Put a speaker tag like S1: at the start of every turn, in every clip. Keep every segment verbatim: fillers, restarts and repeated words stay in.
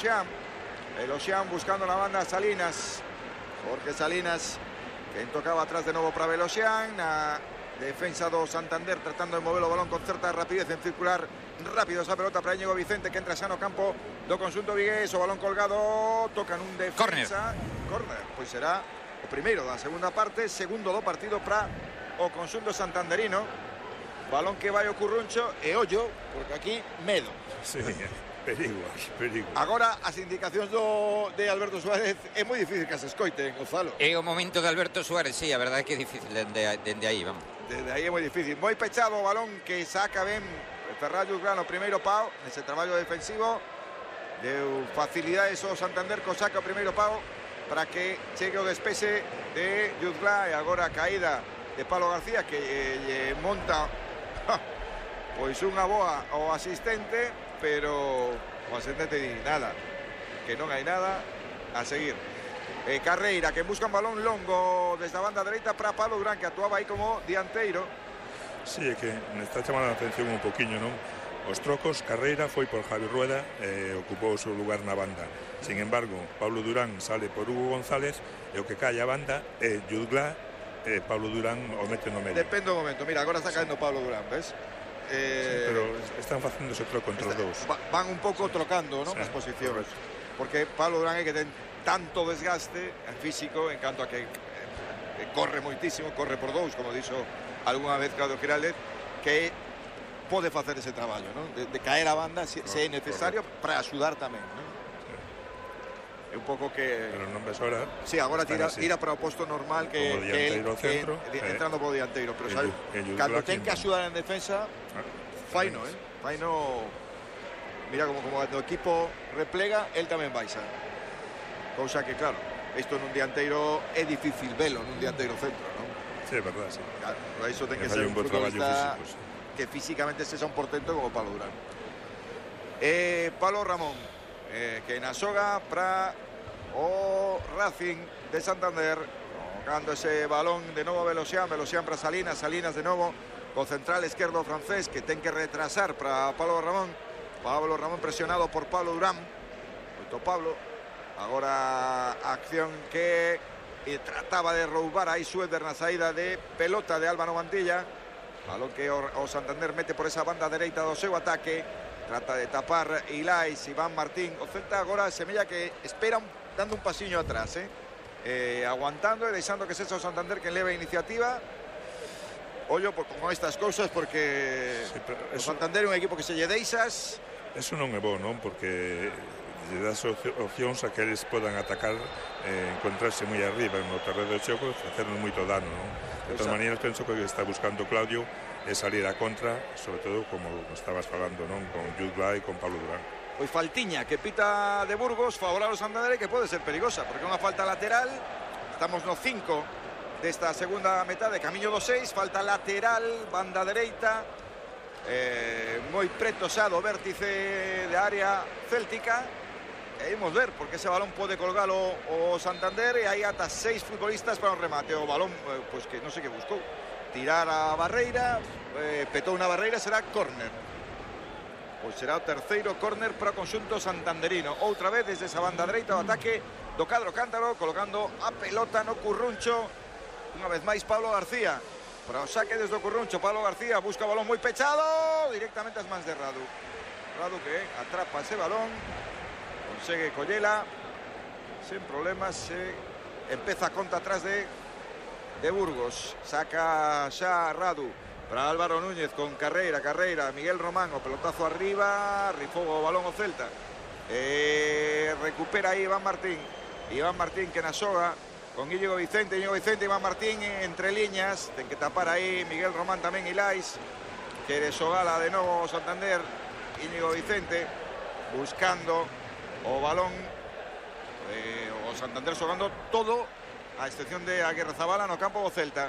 S1: El Ocean buscando la banda Salinas. Jorge Salinas, que tocaba atrás de novo para Velocian. A defensa do Santander tratando de mover o balón con certa rapidez en circular rápido esa pelota para Íñigo Vicente, que entra xa no campo do conxunto vigués. O balón colgado, tocan un defensa. Corner. Pois será o primeiro da segunda parte, segundo do partido para o conxunto santanderino. Balón que vai o Curruncho e ollo, porque aquí medo.
S2: Sí. Perigo, perigo.
S1: Agora as indicacións do de Alberto Suárez é moi difícil que se escoiten, Gonzalo.
S3: É o momento de Alberto Suárez, sí, a verdade é que é difícil dende, dende aí, vamos.
S1: Desde aí é moi difícil. Moi pechado o balón que saca ben Ferran Jutglan o primeiro pau nese traballo defensivo. Deu facilidades ao Santander co saca o primeiro pau para que chegue o despexe de Jutglan. E agora a caída de Pablo García, que lle monta pois unha boa ao asistente, pero o asistente di nada, que non hai nada a seguir. eh, Carreira, que busca un balón longo desde a banda dereita para Pablo Durán, que actuaba aí como dianteiro.
S2: Sí, é que me está chamando a atención un poquinho, non? Os trocos, Carreira foi por Javi Rueda e eh, ocupou o seu lugar na banda. Sin embargo, Pablo Durán sale por Hugo González e o que cae a banda é Jutglan e eh, Pablo Durán o mete no medio.
S1: Depende do momento, mira, agora está caendo Pablo Durán, ves?
S2: Eh, sí, pero están facendo ese troco entre os dous.
S1: Van un pouco trocando, non? Sí, as posicións. Porque Pablo Durán é que ten tanto desgaste físico en canto a que eh, corre moitísimo, corre por dous, como dixo algunha vez Claudio Giraldez, que pode facer ese traballo, non? De, de caer a banda se, se é necesario para axudar tamén, non? É un pouco que...
S2: Pero non ves ahora...
S1: Sí, agora tira, tira para o posto normal que, que, él, que
S2: centro,
S1: que
S2: eh,
S1: entrando por dianteiro. Pero sabe, cando ten que axudar en defensa, faino, eh? Faino, mira, como, como o equipo replega, él tamén baixa. Cousa que, claro, isto nun dianteiro é difícil velo, nun dianteiro centro, non?
S2: Sí, é verdad, sí.
S1: Claro, por iso ten que, que ser un futbolista físico, sí, que físicamente sexa un portento como Pablo Durán. Eh, Pablo Ramón, eh, que na soga para o Racing de Santander, colocando ese balón de novo a Velocian, Velocian para Salinas, Salinas de novo con central esquerdo francés, que ten que retrasar para Pablo Ramón. Pablo Ramón presionado por Pablo Durán. Moito Pablo. Agora a acción que eh, trataba de roubar aí Suéter na saída de pelota de Álvaro Mantilla. Balón que o, o Santander mete por esa banda dereita do seu ataque. Trata de tapar Ilais, Iván Martín. O Celta agora semella que espera un, dando un pasiño atrás, eh? Eh, aguantando e deixando que sexa o Santander que leve a iniciativa. Ollo por, con estas cousas, porque sí, o Santander é un equipo que se lle deixas.
S2: Eso non é bo, non? Porque lle das opcións a que eles podan atacar, eh, encontrarse moi arriba no terreno de xogo e facernos moito dano, non? De todas maneiras, penso que está buscando Claudio é salir a contra, sobre todo como estabas falando, non? Con Jutglan e con Pablo Durán.
S1: Pois faltiña que pita de Burgos favorável ao Santander, que pode ser perigosa, porque é unha falta lateral. Estamos no cinco desta segunda metade, camiño do seis, falta lateral, banda dereita, eh, moi preto xa do vértice de área céltica. E imos ver, porque ese balón pode colgalo o Santander e hai ata seis futbolistas para o remate. O balón, eh, pois que non sei que buscou, tirar a barreira, eh, petou unha barreira, será córner. Pois será o terceiro córner para o conxunto santanderino. Outra vez desde esa banda dereita o ataque do cadro cántaro, colocando a pelota no Curruncho. Unha vez máis Pablo García para o saque desde o Curruncho. Pablo García busca o balón moi pechado, directamente ás mans de Radu. Radu que atrapa ese balón, consegue collela sen problemas, se empeza a conta atrás de de Burgos. Saca xa Radu para Álvaro Núñez con Carreira, Carreira, Miguel Román, o pelotazo arriba, rifou o balón o Celta. Eh, recupera aí Iván Martín. Iván Martín que na soga con Íñigo Vicente, Íñigo Vicente, Iván Martín entre liñas, ten que tapar aí Miguel Román tamén, Ilais, quere xogala de novo o Santander. Íñigo Vicente buscando o balón, eh, o Santander xogando todo a excepción de Aguirrezabala no campo do Celta,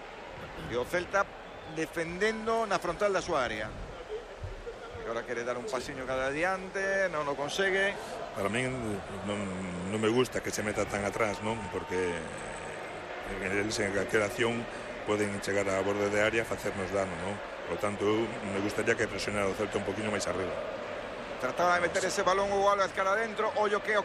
S1: e o Celta defendendo na frontal da súa área. E agora quere dar un pasiño cada adiante, non o consegue.
S2: Para min non, non me gusta que se meta tan atrás, non? Porque eles en calquera acción poden chegar a borde de área e facernos dano, non? Por tanto, me gustaría que presionara o Celta un poquinho máis arriba.
S1: Trataba de meter ese balón Hugo Álvarez cara adentro. Ollo que